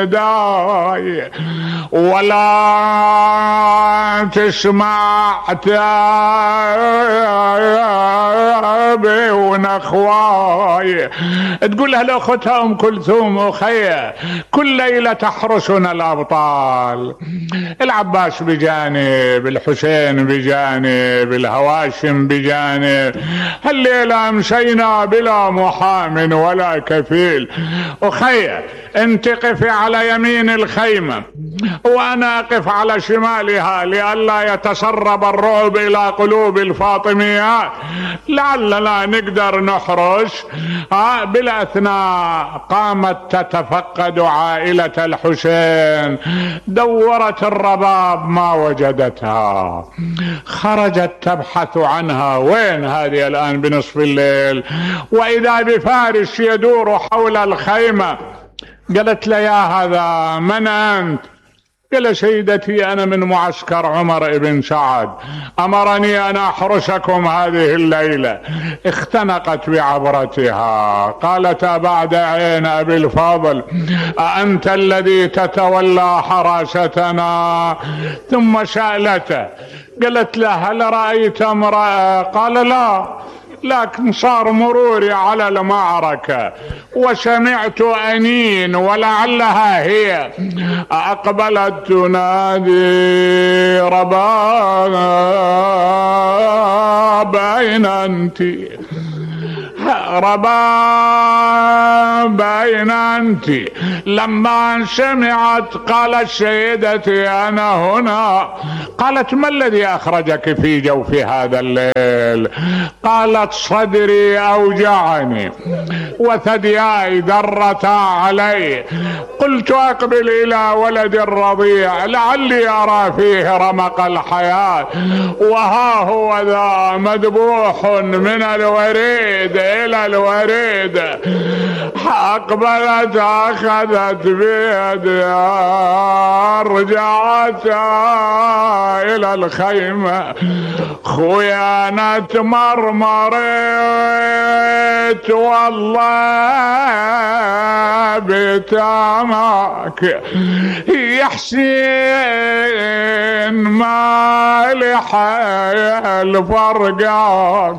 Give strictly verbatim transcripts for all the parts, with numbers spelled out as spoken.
داي ولا تسمع تابي ونخواي. تقول لها لاختها ام كلثوم اخية كل ليلة تحرسنا الابطال، العباس بجانب، الحسين بجانب، الهواشم بجانب، هالليلة مشينا بلا محام ولا كفيل. اخية انت قفي على يمين الخيمة وانا اقف على شمالها لئلا يتسرب الرعب الى قلوب الفاطميات، لعلنا نقدر نحرس. ها بالاثناء قامت تتفقد عائلة الحسين، دورت الرباب ما وجدتها، خرجت تبحث عنها، وين هذه الان بنصف الليل؟ واذا بفارس يدور حول الخيمة. قالت له يا هذا من انت؟ قال سيدتي انا من معسكر عمر بن سعد، امرني ان احرسكم هذه الليلة. اختنقت بعبرتها، قالت بعد عين ابي الفضل اانت الذي تتولى حراستنا؟ ثم سألته قالت له هل رأيت امرأة؟ قال لا، لكن صار مروري على المعركة وسمعت أنين ولعلها هي. أقبلت تنادي رباب أين أنت؟ رباب أين أنت؟ لما سمعت قالت سيدتي أنا هنا. قالت ما الذي أخرجك في جوف هذا الليل؟ قالت صدري أوجعني وثدياي درتا علي، قلت أقبل إلى ولد الرضيع لعلي أرى فيه رمق الحياة، وها هو ذا مذبوح من الوريد إلى الوريد. أقبلت أخذت بيدها رجعت إلى الخيمة. خويا أنا تمرمرت والله بتامك يا حسين مالح الفرقان.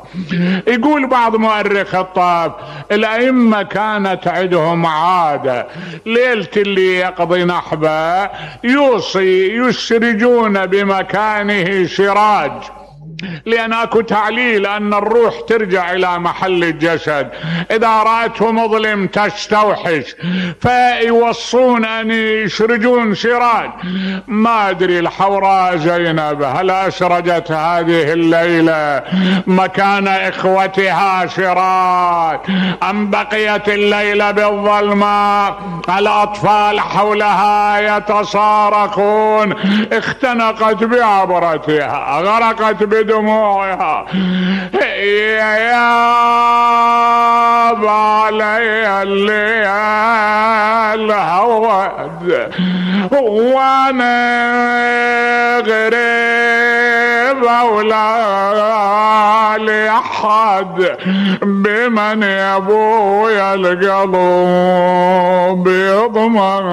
يقول بعض مؤرخ الطاف الأئمة كانت عندهم عادة ليلة اللي يقضي نحبه يوصي يسرجون بمكانه سراج، لأن اكو تعليل أن الروح ترجع إلى محل الجسد، إذا رأته مظلم تستوحش، فيوصون أن يسرجون سراج. ما أدري الحوراء زينب هل أسرجت هذه الليلة مكان إخوتها سراج أم بقيت الليلة بالظلماء؟ الأطفال حولها يتصارخون. اختنقت بعبرتها، غرقت بدموعها. يا علي الليل هود وانا غريب ولا لأحد، بمن يا ابويا القلب يضمن.